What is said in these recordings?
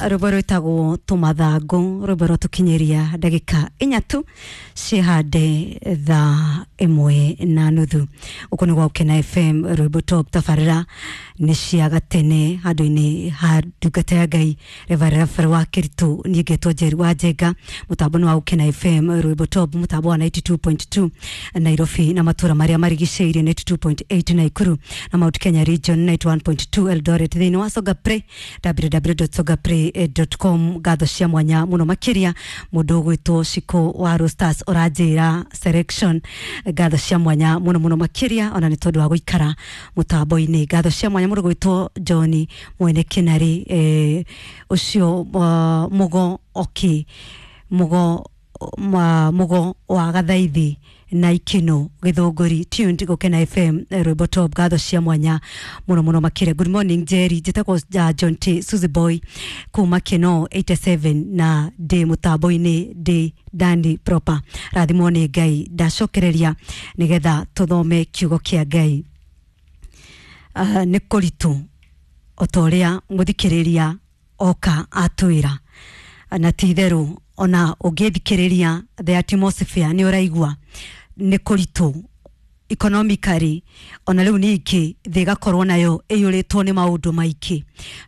Rwĩmbo rwĩtagwo tũmathangũ, rwĩmbo rwatũkinyĩria ndagĩka 4 tu cihande thaa 1:30. Gũkũ nĩ gwa Gũkena FM, rwĩmbo top tabarĩra nĩ cia gatene handũ-inĩ ha ndungata ya Ngai Reverend wa Kĩritũ. Niĩ ngetwo Njeri wa Njenga, mũtambo nĩ wa Gũkena FM, rwĩmbo top, mũtambo wa 92.2 Nairobi na matũra marĩa marigicĩirie, 92.8 Naikuru na Mount Kenya region, 91.2 Eldoret, thĩinĩ wa Songa Play, www.songaplay.com. Ngatho cia mwanya mũno makĩria mũndũ ũgwĩtwo Shiko wa Rosters ũranjĩra selection. Ngatho cia mwanya mũno mũno makĩria ona nĩ tondũ wa gũikara mũtambo-inĩ. Ngatho cia mwanya mũndũ ũgwĩtwo John mwene Kĩnarĩ, ũcio mũgo okay, mũgo mũgo wa gathaithi na ikino githunguri, tuned Gukena FM, rwimbo top. Ngatho cia mwanya muno muno makĩria. Good morning Jerry, njĩtagwo John T Suzy Boy kuma Kino 87 na ndĩ mũtambo-inĩ, ndĩ dani proper. Rathimwo nĩ Ngai. Ndacokereria nĩgetha tũthome kiugo kĩa Ngai. Nĩ kũritũ o ta ũrĩa mũthikĩrĩria oka atwĩra, na ti itherũ ona ũngĩthikĩrĩria the atmosphere nĩ ũraigua nĩ kũritũ economically, ona rĩu ningĩ thĩ ĩgakorwo nayo ĩiyũrĩtwo nĩ maũndũ maingĩ,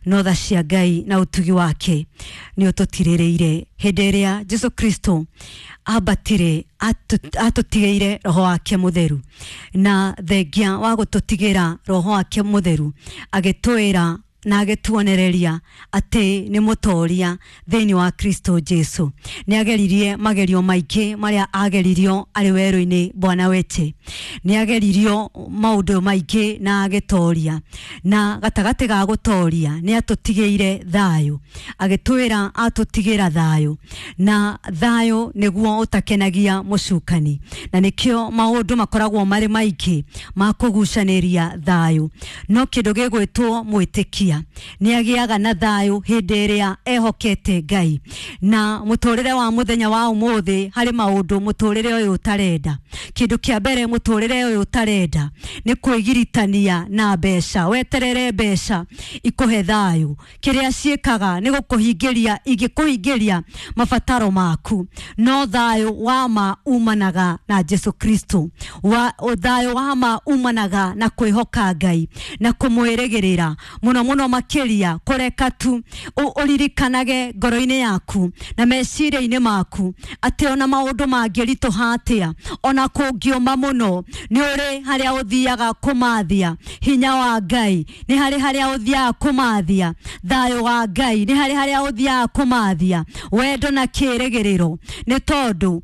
no tha cia Ngai na ũtugi wake nĩ ũtũtirĩrĩire. Hĩndĩ ĩrĩa Jesu Kristo ambatire, atũtigĩire roho wake mũtheru, na thengia wa gũtũtigĩra roho wake mũtheru, agĩtwĩra na agĩtuonereria atĩ nĩ mũtoria thĩinĩ wa Kristo Jesu. Nĩ ageririe magerio maingĩ marĩa ageririo arĩ werũ-inĩ. Bwana wete nĩ ageririo maũndũ maingĩ na agĩtoria, na gatagatĩ ga gũtoria nĩ atũtigĩire thayũ, agĩtwĩra atũtigĩra thayũ, na thayũ nĩguo ũtakenagia mũcukani, na nĩkĩo maũndũ makoragwo marĩ maingĩ ma kũgucanĩria thayũ. No kĩndũ gĩgwĩtwo mwĩtĩkia nĩ agĩaga na thayũ hĩndĩ ĩrĩa ehokete Ngai. Na mũtũrĩre wa mũthenya wa ũmũthĩ, harĩ maũndũ mũtũrĩre ũyũ ũtarenda. Kĩndũ kĩa mbere mũtũrĩre ũyũ ũtarenda nĩ kwĩgiritania na mbeca, weterere mbeca ikũhe thayũ. Kĩrĩa ciĩkaga nĩ gũkũhingĩria, ingĩkũhingĩria mabataro maku, no thayũ wa ma umanaga na Jesu Kristo. Wa thayũ wa ma umanaga na kwĩhoka Ngai na kũmwĩrĩgĩrĩra mũno mũno makĩria, kũreka tu ũririkanage ngoro-inĩ yaku na meciria-inĩ maku atĩ ona maũndũ mangĩritũha atĩa, ona kũngĩũma mũno, nĩ ũrĩ harĩa ũthiaga kũmathia hinya wa Ngai, nĩ harĩ harĩa ũthiaga kũmathia thayũ wa Ngai, nĩ harĩ harĩa ũthiaga kũmathia wendo na kĩĩrĩgĩrĩro, nĩ tondũ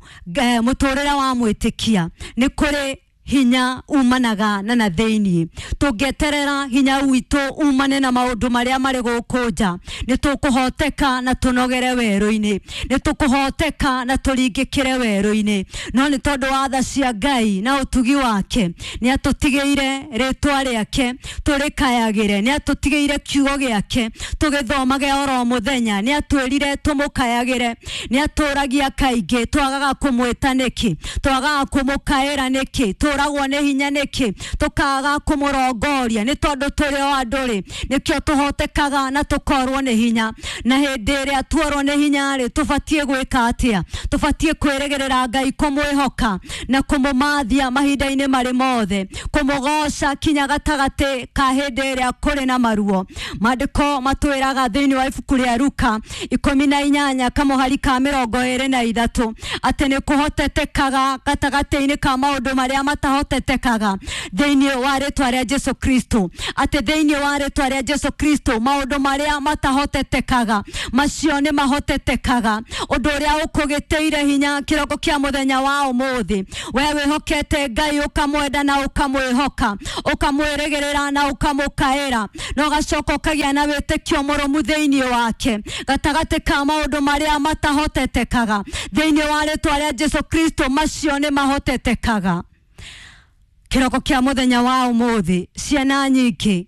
mũtũrĩre wa mwĩtĩkia nĩ kũrĩ hinya umanaga na thĩiniĩ. Tũngĩeterera hinya witũ umane na maũndũ marĩa marĩ gũkũ nja, nĩ tũkũhoteka na tũnogere werũ-inĩ, nĩ tũkũhoteka na tũringĩkĩre werũ-inĩ. No nĩ tondũ wa tha cia Ngai na ũtugi wake, nĩ atũtigĩire rĩtwa rĩake tũrĩkayagĩre, nĩ atũtigĩire kiugo gĩake tũgĩthomage oro mũthenya, nĩ atwĩrire tũmũkayagĩre. Nĩ atũragia kaingĩ twagaga kũmwĩta nĩkĩ, twagaga kũmũkaĩra nĩkĩ, tũragwo nĩ hinya nĩkĩ, tũkaga kũmũrongoria. Nĩ tondũ tũrĩ o andũ rĩ, nĩkĩo tũhotekaga na tũkorwo nĩ hinya. Na hĩndĩ ĩrĩa tuorwo nĩ hinya rĩ, tũbatiĩ gwĩka atĩa? Tũbatiĩ kwĩrĩgĩrĩra Ngai, kũmwĩhoka na kũmũmathia mahinda-inĩ marĩ mothe, kũmũgoca kinya gatagatĩ ka hĩndĩ ĩrĩa kũrĩ na maruo. Maandĩko matwĩraga thĩinĩ wa ibuku rĩa Luka 18 kamũhari ka 23 atĩ nĩ kũhotetekaga gatagatĩ-inĩ ka maũndũ marĩa matahotetekaga thĩinĩ wa rĩtwa rĩa Jesu Kristo, atĩ thĩinĩ wa rĩtwa rĩa Jesu Kristo maũndũ marĩa matahotetekaga macio nĩ mahotetekaga. Ũndũ ũrĩa ũkũgĩtĩire hinya kĩroko kĩa mũthenya wa ũmũthĩ, we wĩhokete Ngai, ũkamwenda na ũkamwĩhoka, ũkamwĩrĩgĩrĩra na ũkamũkaĩra, na ũgacoka ũkagĩa na wĩtĩkio mũrũmu thĩinĩ wake gatagatĩ ka maũndũ marĩa matahotetekaga thĩinĩ wa rĩtwa rĩa Jesu Kristo, macio nĩ mahotetekaga. Kĩroko kĩa mũthenya wa ũmũthĩ, ciana nyingĩ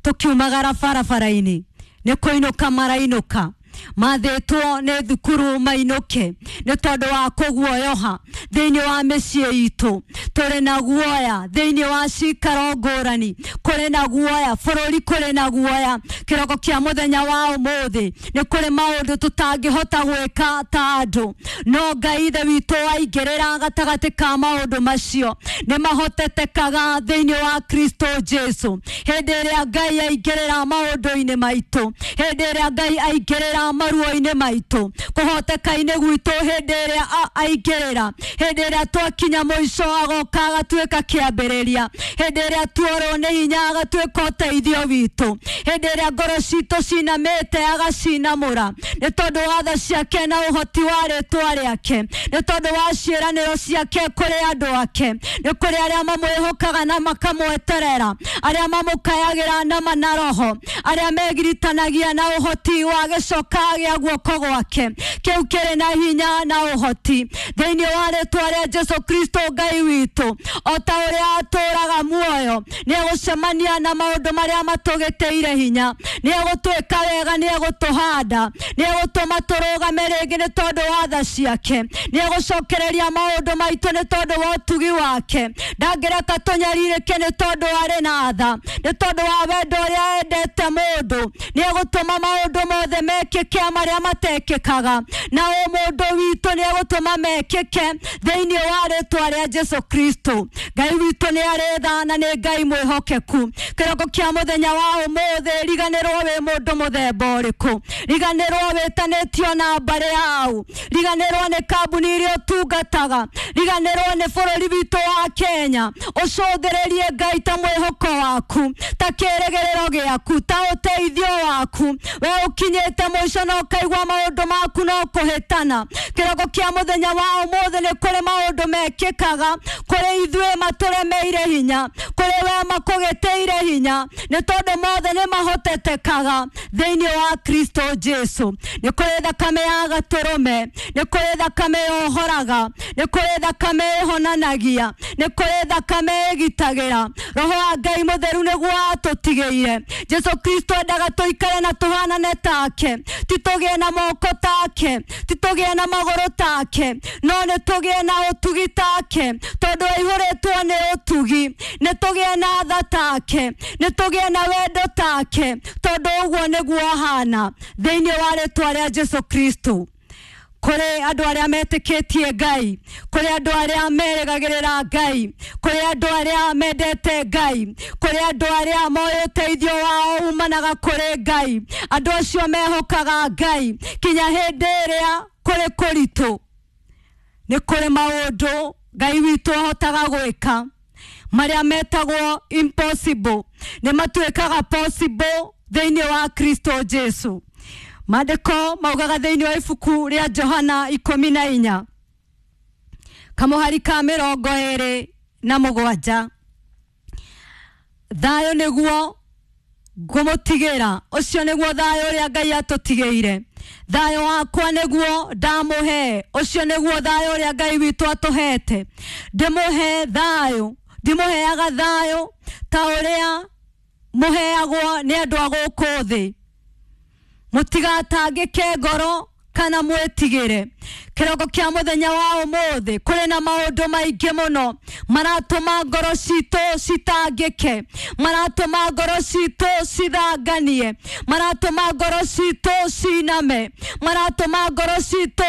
tũkiumagara barabara-inĩ nĩ kũinũka marainũka. Mathĩtwo nĩ thukuru mainũke nĩ tondũ wa kũguoyoha thĩinĩ wa mĩciĩ itũ. Tũrĩ na guoya thĩinĩ wa cikaro ngũrani, kũrĩ na guoya bũrũri, kũrĩ na guoya. Kĩroko kĩa mũthenya wa ũmũthĩ nĩ kũrĩ maũndũ tũtangĩhota gwĩka ta andũ, no Ngai ithe witũ aingĩrĩra gatagatĩ ka maũndũ macio nĩ mahotetekaga thĩinĩ wa Kristo Jesu. Hĩndĩ ĩrĩa Ngai aingĩrĩra maũndũ-inĩ maitũ, hĩndĩ ĩrĩa Ngai aingĩrĩra maruo-inĩ maitũ, kũhoteka-inĩ gwitũ, hĩndĩ ĩrĩa aingĩrĩra, hĩndĩ ĩrĩa twakinya mũico agoka agatuĩka kĩambĩrĩria, hĩndĩ ĩrĩa tuorwo nĩ hinya agatuĩka ũteithio witũ, hĩndĩ ĩrĩa ngoro citũ cinamĩte agacinamũra nĩ tondũ wa tha ciake na ũhoti wa rĩtwa rĩake, nĩ tondũ wa ciĩranĩro ciake kũrĩ andũ ake, nĩ kũrĩ arĩa mamwĩhokaga na makamweterera, arĩa mamũkayagĩra na mana roho, arĩa megiritanagia na ũhoti wa gĩcoka gĩa guoko gwake kĩu kĩrĩ na hinya na ũhoti thĩinĩ wa rĩtwa rĩa Jesu Kristo Ngai witũ. O ta ũrĩa atũũraga muoyo, nĩ egũcemania na maũndũ marĩa matũgĩtĩire hinya, nĩ egũtwĩka wega, nĩ egũtũhanda, nĩ egũtũma tũrũgame rĩngĩ nĩ tondũ wa tha ciake, nĩ egũcokereria maũndũ maitũ nĩ tondũ wa ũtugi wake. Ndangĩreka tũnyarirĩke nĩ tondũ arĩ na tha, nĩ tondũ wa wendo ũrĩa endete mũndũ. Nĩ egũtũma maũndũ mothe mekĩke marĩa matekĩkaga, na ũmũndũ witũ nĩ egũtũma mekĩke thĩinĩ wa rĩtwa rĩa Jesu Kristo. Ngai witũ nĩ arĩ tha na nĩ Ngai mwĩhokeku. Kĩroko kĩa mũthenya wa ũmũthĩ, riganĩrwo wĩ mũndũ mũthemba ũrĩkũ, riganĩrwo wĩtanĩtio na mbarĩ yau, riganĩrwo nĩ kambuni iria ũtungataga, riganĩrwo nĩ bũrũri witũ wa Kenya. Ũcũthĩrĩrie Ngai ta mwĩhoko waku, ta kĩĩrĩgĩrĩro gĩaku, ta ũteithio waku. We ũkinyĩte mũico na ũkaigua maũndũ maku no kũhĩtana. Kĩroko kĩa mũthenya wa ũmũthĩ nĩ kũrĩ maũndũ mekĩkaga kũrĩ ithuĩ matũremeire hinya, kũrĩ we makũgĩtĩire hinya, nĩ tondũ mothe nĩ mahotetekaga thĩinĩ wa Kristo Jesu. Nĩ kũrĩ thakame ya gatũrũme, nĩ kũrĩ thakame yohoraga, nĩ kũrĩ thakame ĩhonanagia, nĩ kũrĩ thakame ĩgitagĩra. Roho wa Ngai mũtheru nĩguo atũtigĩire. Jesu Kristo endaga tũikare na tũhanane take, ti tũgĩe na moko take, ti tũgĩe na magũrũ take, no nĩ tũgĩe na ũtugi take, tondũ aihũrĩtwo nĩ ũtugi. Nĩ tũgĩe na tha take, nĩ tũgĩe na wendo take, tondũ ũguo nĩguo ahana thĩinĩ wa rĩtwa rĩa Jesu Kristo. Kũrĩ andũ arĩa metĩkĩtie Ngai, kũrĩ andũ arĩa merĩgagĩrĩra Ngai, kũrĩ andũ arĩa mendete Ngai, kũrĩ andũ arĩa moĩ ũteithio wao umanaga kũrĩ Ngai. Andũ acio mehokaga Ngai kinya hĩndĩ ĩrĩa kũrĩ kũritũ. Nĩ kũrĩ maũndũ Ngai witũ ahotaga gwĩka marĩa metagwo impossible nĩ matuĩkaga possible thĩinĩ wa Kristo Jesu. Maandĩko maugaga thĩinĩ wa ibuku rĩa Johana 14 kamũhari ka 27, thayũ nĩguo ngũmũtigĩra, ũcio nĩguo thayũ ũrĩa Ngai atũtigĩire. Thayũ wakwa nĩguo ndamũhe, ũcio nĩguo thayũ ũrĩa Ngai witũ atũhete. Ndĩmũhe thayũ, ndimũheaga thayũ ta ũrĩa mũheagwo nĩ andũ a gũkũ thĩ. Mũtigatangĩke ngoro kana mwĩtigĩre. Kĩroko kĩa mũthenya wa ũmũthĩ kũrĩ na maũndũ maingĩ mũno maratũma ngoro citũ citangĩke, maratũma ngoro citũ cithanganie, maratũma ngoro citũ ciname, maratũma ngoro citũ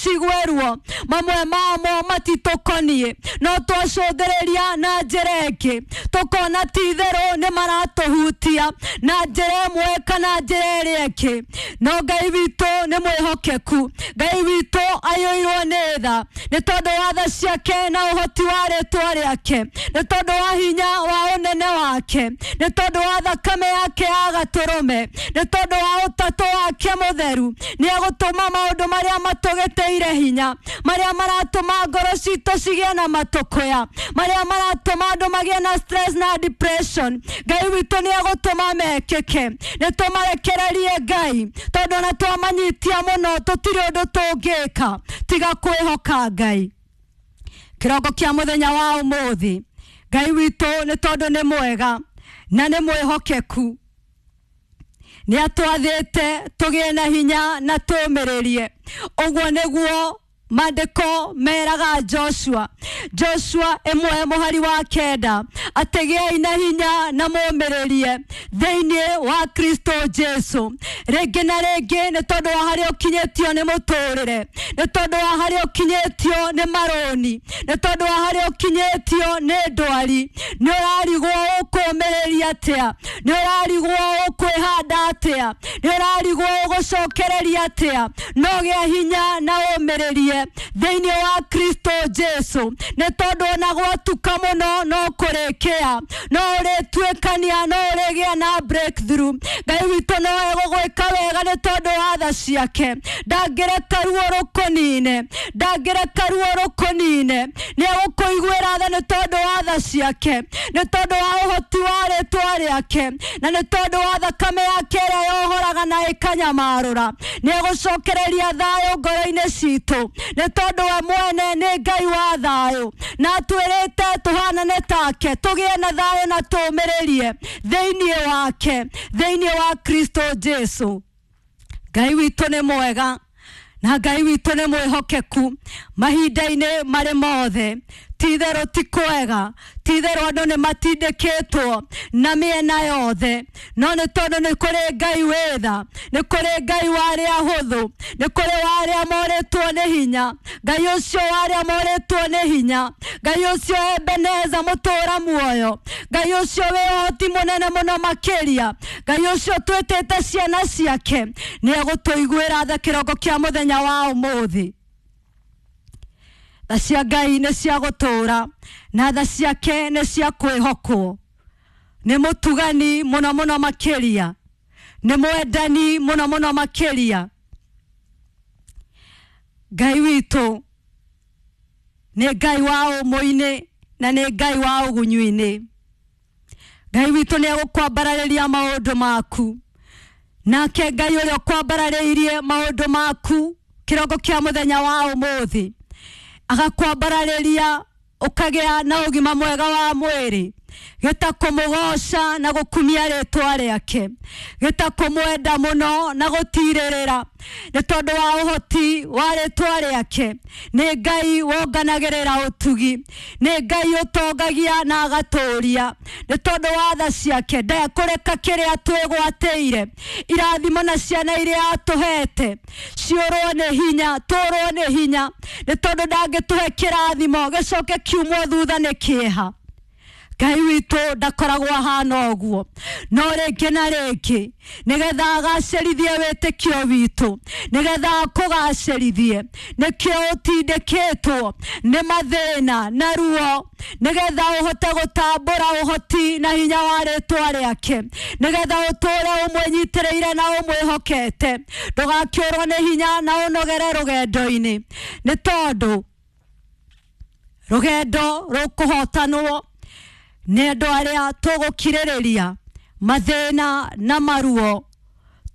cigue ruo. Mamwe mamo matitũkoniĩ, no twacũthĩrĩria na njĩra ĩngĩ tũkona ti itherũ nĩ maratũhutia na njĩra ĩmwe kana njĩra ĩrĩa ĩngĩ. No Ngai witũ nĩ mwĩhokeku, Ngai witũ aiyũirwo nĩ tha nĩ tondũ wa tha ciake na ũhoti wa rĩtwa rĩake, nĩ tondũ wa hinya wa ũnene wake, nĩ tondũ wa thakame yake ya gatũrũme, nĩ tondũ wa ũtatũ wake mũtheru. Nĩ egũtũma maũndũ marĩa matũgĩtĩire hinya, marĩa maratũma ngoro citũ cigĩe na matũkũya, marĩa maratũma andũ magĩe na stress na depression, Ngai witũ nĩ egũtũma mekĩke. Nĩ tũmarekererie Ngai, tondũ ona twamanyitia mũno tũtirĩ ũndũ tũngĩka tiga kwĩhoka Ngai. Kĩroko kĩa mũthenya wa ũmũthĩ, Ngai witũ nĩ tondũ nĩ mwega na nĩ mwĩhokeku, Nĩ atwathĩte tũgĩe na hinya na tũũmĩrĩrie. Ũguo nĩguo maandĩko meraga Joshua, Joshua 1:9, atĩ gĩai na hinya na mũũmĩrĩrie thĩinĩ wa Kristo Jesu. Rĩngĩ na rĩngĩ nĩ tondũ wa harĩa ũkinyĩtio nĩ mũtũrĩre, nĩ tondũ wa harĩa ũkinyĩtio nĩ marũni, nĩ tondũ wa harĩa ũkinyĩtio nĩ ndwari, nĩ ũrarigwo ũkũũmĩrĩria atĩa, nĩ ũrarigwo ũkwĩhanda atĩa, nĩ ũrarigwo ũgũcokereria atĩa. No gĩa hinya na ũũmĩrĩrie thĩinĩ wa Kristo Jesu, nĩ tondũ ona gwatuka mũno no kũrĩkĩa, no ũrĩtuĩkania, no ũrĩgĩa na breakthrough. Ngai witũ no egũgwĩka wega nĩ tondũ wa tha ciake. Ndangĩreka ruo rũkũnine, ndangĩreka ruo rũkũnine. Nĩ egũkũiguĩra tha nĩ tondũ wa tha ciake, nĩ tondũ wa ũhoti wa rĩtwa rĩake, na nĩ tondũ wa thakame yake ĩrĩa yohoraga na ĩkanyamarũra. Nĩ egũcokereria thayũ ngoro-inĩ citũ, nĩ tondũ we mwene nĩ Ngai wa thayũ, na atwĩrĩte tũhanane take, tũgĩe na thayũ na tũũmĩrĩrie thĩinĩ wake, thĩinĩ wa Kristo Jesu. Ngai witũ nĩ mwega na Ngai witũ nĩ mwĩhokeku mahinda-inĩ marĩ mothe. Ti-itherũ ti kwega, ti-itherũ andũ nĩ matindĩkĩtwo na mĩena yothe, no nĩ tondũ nĩ kũrĩ Ngai wĩ tha, nĩ kũrĩ Ngai wa arĩa ahũthũ, nĩ kũrĩ wa arĩa morĩtwo nĩ hinya. Ngai ũcio wa arĩa morĩtwo nĩ hinya, Ngai ũcio Ebeneza mũtũũra muoyo, Ngai ũcio wĩ ũhoti mũnene mũno makĩria, Ngai ũcio twĩtĩte ciana ciake, nĩ egũtũiguĩra tha kĩroko kĩa mũthenya wa ũmũthĩ. Tha cia Ngai nĩ cia gũtũũra na tha ciake nĩ cia kwĩhokwo. Nĩ mũtugani mũno mũno makĩria, nĩ mwendani mũno mũno makĩria. Ngai witũ nĩ Ngai wa ũmũ-inĩ na nĩ Ngai wa ũgunyũ-inĩ. Ngai witũ nĩ egũkwambararĩria maũndũ maku, nake Ngai ũrĩa ũkwambararĩirie maũndũ maku kĩroko kĩa mũthenya wa ũmũthĩ, agakwambararĩria ũkagĩa na ũgima mwega wa mwĩrĩ, gĩta kũmũgoca na gũkumia rĩtwa rĩake, gĩta kũmwenda mũno na gũtirĩrĩra nĩ tondũ wa ũhoti wa rĩtwa rĩake. Nĩ Ngai wonganagĩrĩra ũtugi, nĩ Ngai ũtongagia na agatũũria nĩ tondũ wa tha ciake. Ndekũreka kĩrĩa twĩgwatĩire, irathimo na ciana iria atũhete ciũrwo nĩ hinya, tũrwo nĩ hinya, nĩ tondũ ndangĩtũhe kĩrathimo gĩcoke kiumwo thutha nĩ kĩeha. Ngai witũ ndakoragwo ahana ũguo, no rĩngĩ na rĩngĩ nĩgetha agacĩrithie wĩtĩkio witũ, nĩgetha akũgacĩrithie, nĩkĩo ũtindĩkĩtwo nĩ mathĩna na ruo, nĩgetha ũhote gũtambũra ũhoti na hinya wa rĩtwa rĩake, nĩgetha ũtũũre ũmwĩnyitĩrĩire na ũmwĩhokete, ndũgakĩũrwo nĩ hinya na ũnogere rũgendo-inĩ, nĩ tondũ rũgendo rũkũhotanwo nĩ andũ arĩa tũgũkirĩrĩria mathĩna na maruo.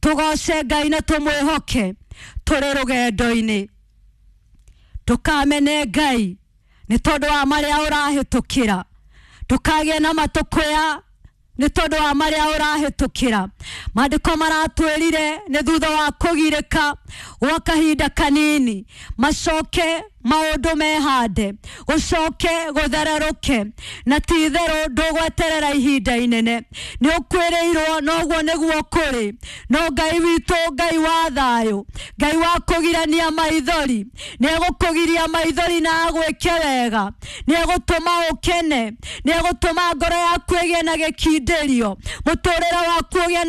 Tũgoce Ngai na tũmwĩhoke tũrĩ rũgendo-inĩ. Ndũkamene Ngai nĩ tondũ wa marĩa ũrahĩtũkĩra, ndũkagĩe na matũkũya nĩ tondũ wa marĩa ũrahĩtũkĩra. Maandĩko maratwĩrire nĩ thutha wa kũgirĩka gwa kahinda kanini, macoke maũndũ mehande, gũcoke gũthererũke, na ti itherũ ndũgweterera ihinda inene. Nĩ ũkwĩrĩirwo noguo nĩguo kũrĩ, no Ngai witũ, Ngai wa thayũ, Ngai wa kũgirania maithori, nĩ egũkũgiria maithori na agwĩke wega, nĩ egũtũma ũkene, nĩ egũtũma ngoro yaku ĩgĩe na gĩkindĩrio, mũtũrĩre waku ũgĩe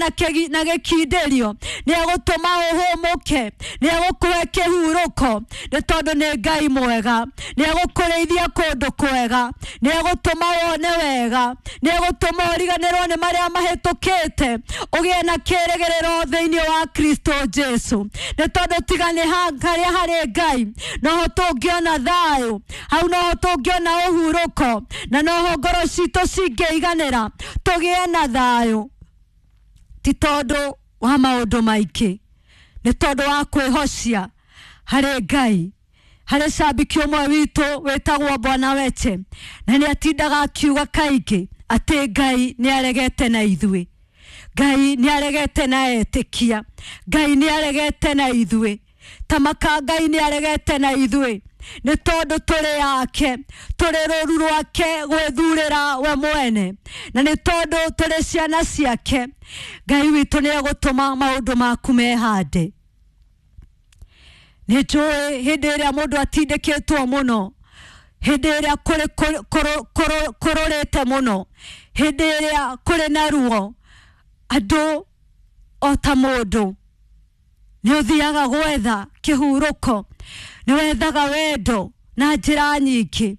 na gĩkindĩrio, nĩ egũtũma ũhũmũke, nĩ egũkũhe kĩhurũko, nĩ tondũ nĩ Ngai mwega, nĩ egũkũrĩithia kũndũ kwega, nĩ egũtũma wone wega, nĩ egũtũma ũriganĩrwo nĩ marĩa mahĩtũkĩte, ũgĩe na kĩĩrĩgĩrĩro thĩinĩ wa Kristo Jesu. Nĩ tondũ tiga nĩ harĩa harĩ Ngai noho tũngĩona thayũ, hau noho tũngĩona ũhurũko, na noho ngoro citũ cingĩiganĩra tũgĩe na thayũ, ti tondũ wa maũndũ maingĩ, nĩ tondũ wa kwĩhocia harĩ Ngai. Harĩ cambiki ũmwe witũ wĩtagwo Bwana Weche, na nĩ atindaga akiuga kaingĩ atĩ Ngai nĩ aregete na ithuĩ. Ngai nĩ aregete na etĩkia, Ngai nĩ aregete na ithuĩ, tamaka Ngai nĩ aregete na ithuĩ, nĩ tondũ tũrĩ yake, tũrĩ rũru rwake gwĩthurĩra we mwene, na nĩ tondũ tũrĩ ciana ciake. Ngai witũ nĩ egũtũma maũndũ maku mehande. Nĩ njũĩ hĩndĩ ĩrĩa mũndũ atindĩkĩtwo mũno, hĩndĩ ĩrĩa kũrĩ kũrũrĩte mũno, hĩndĩ ĩrĩa kũrĩ na ruo, andũ o ta mũndũ nĩ ũthiaga gwetha kĩhurũko, nĩ wethaga wendo na njĩra nyingĩ.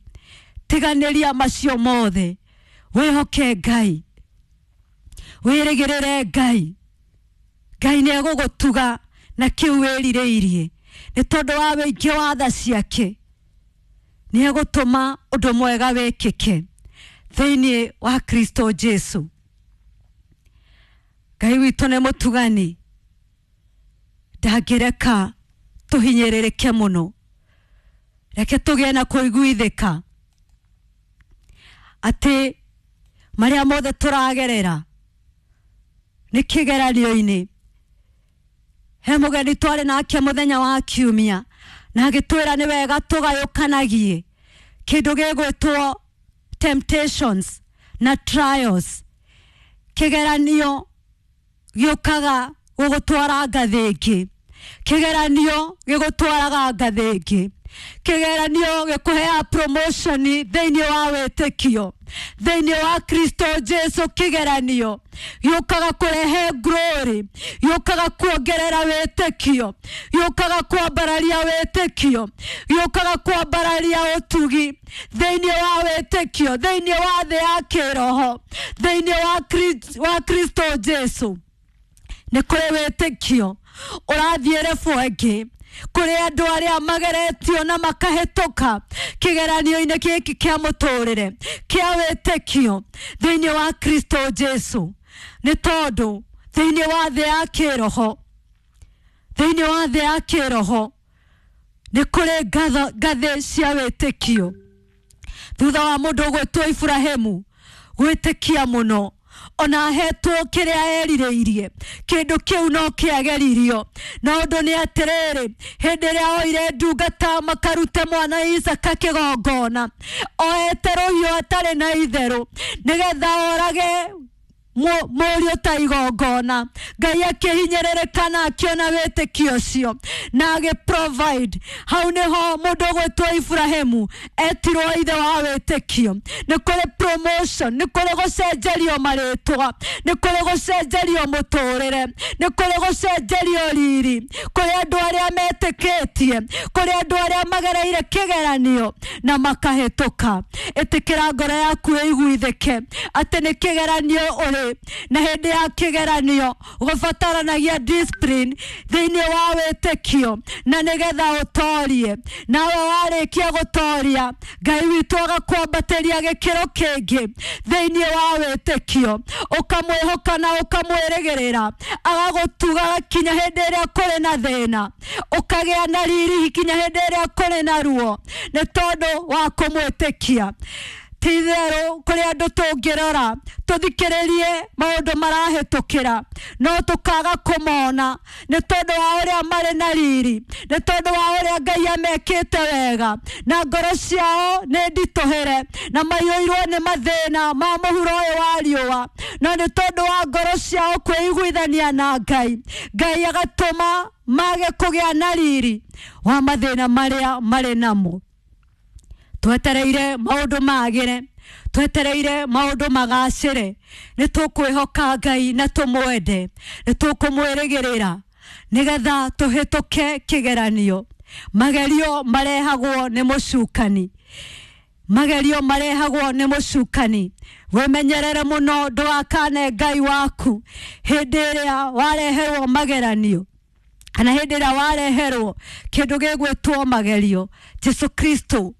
Tiganĩria macio mothe, wĩhoke Ngai, wĩrĩgĩrĩre Ngai. Ngai nĩ egũgũtuga na kĩu wĩrirĩirie, nĩ tondũ wa wĩingĩ wa tha ciake. Nĩ egũtũma ũndũ mwega wĩkĩke thĩinĩ wa Kristo Jesu. Ngai witũ nĩ mũtugani, ndangĩreka tũhinyĩrĩrĩke mũno. Reke tũgĩe na kũiguithĩka atĩ marĩa mothe tũragerera nĩ kĩgeranio-inĩ. He mũgeni twarĩ nake mũthenya wa kiumia, na agĩtwĩra nĩ wega tũgayũkanagie kĩndũ gĩgwĩtwo temptations na trials. Kĩgeranio gĩũkaga gũgũtwara ngathĩ ĩngĩ, kĩgeranio gĩgũtwaraga ngathĩ ĩngĩ, kĩgeranio gĩkũheaga promotion thĩinĩ wa wĩtĩkio, thĩinĩ wa Kristo Jesu. Kĩgeranio gĩũkaga kũrehe glory, gĩũkaga kuongerera wĩtĩkio, gĩũkaga kwambararia wĩtĩkio, gĩũkaga kwambararia ũtugi thĩinĩ wa wĩtĩkio, thĩinĩ wa thĩ ya kĩroho, thĩinĩ wa Kristo Jesu. Nĩ kũrĩ wĩtĩkio ũrathiĩ rebu ĩngĩ, kũrĩ andũ arĩa mageretio na makahĩtũka kĩgeranio-inĩ gĩkĩ kĩa mũtũrĩre kĩa wĩtĩkio thĩinĩ wa Kristo Jesu. Nĩ tondũ thĩinĩ wa thĩ ya kĩroho, thĩinĩ wa thĩ ya kĩroho nĩ kũrĩ ngathĩ cia wĩtĩkio. Thutha wa mũndũ ũgwĩtwo Iburahĩmu gwĩtĩkia mũno, ona ahetwo kĩrĩa erirĩirie, kĩndũ kĩu no kĩageririo. Na ũndũ nĩ atĩrĩrĩ, hĩndĩ ĩrĩa oire ndungata makarute mwana Isaka kĩgongona, oete rũhiũ atarĩ na itherũ, nĩgetha orage mũriũ ta igongona, Ngai akĩhinyĩrĩrĩka na akĩona wĩtĩkio ũcio na agĩ provide. Hau nĩho mũndũ ũgwĩtwo Iburahĩmu etirwo ithe wa wĩtĩkio. Nĩ kũrĩ promotion, nĩ kũrĩ gũcenjerio marĩtwa, nĩ kũrĩ gũcenjerio mũtũrĩre, nĩ kũrĩ gũcenjerio riri, kũrĩ andũ arĩa metĩkĩtie, kũrĩ andũ arĩa magereire kĩgeranio na makahĩtũka. Ĩtĩkĩra ngoro yaku ĩiguithĩke atĩ nĩ kĩgeranio ũrĩ, na hĩndĩ ya kĩgeranio gũbataranagia discipline thĩinĩ wa wĩtĩkio, na nĩgetha ũtorie. Nawe warĩkia gũtoria, Ngai witũ agakwambatĩria gĩkĩro kĩngĩ thĩinĩ wa wĩtĩkio, ũkamwĩhoka na ũkamwĩrĩgĩrĩra, agagũtuga kinya hĩndĩ ĩrĩa kũrĩ na thĩna, ũkagĩa na riri kinya hĩndĩ ĩrĩa kũrĩ na ruo, nĩ tondũ wa kũmwĩtĩkia. Ti itherũ kũrĩ andũ tũngĩrora tũthikĩrĩrie maũndũ marahĩtũkĩra, no tũkaga kũmona nĩ tondũ wa ũrĩa marĩ na riri, nĩ tondũ wa ũrĩa Ngai amekĩte wega, na ngoro ciao nĩ nditũhĩre na maiyũirwo nĩ mathĩna ma mũhuro ũyũ wa riũa, no nĩ tondũ wa ngoro ciao kwĩiguithania na Ngai, Ngai agatũma mage kũgĩa na riri wa mathĩna marĩa marĩ namo. Twetereire maũndũ magĩre, twetereire maũndũ magacĩre, nĩ tũkwĩhoka Ngai na tũmwende, nĩ tũkũmwĩrĩgĩrĩra nĩgetha tũhĩtũke kĩgeranio. Magerio marehagwo nĩ mũcukani, magerio marehagwo nĩ mũcukani. Wĩmenyerere mũno ndũgakane Ngai waku hĩndĩ ĩrĩa wareherwo mageranio, kana hĩndĩ ĩrĩa wareherwo kĩndũ gĩgwĩtwo magerio. Jesu Kristo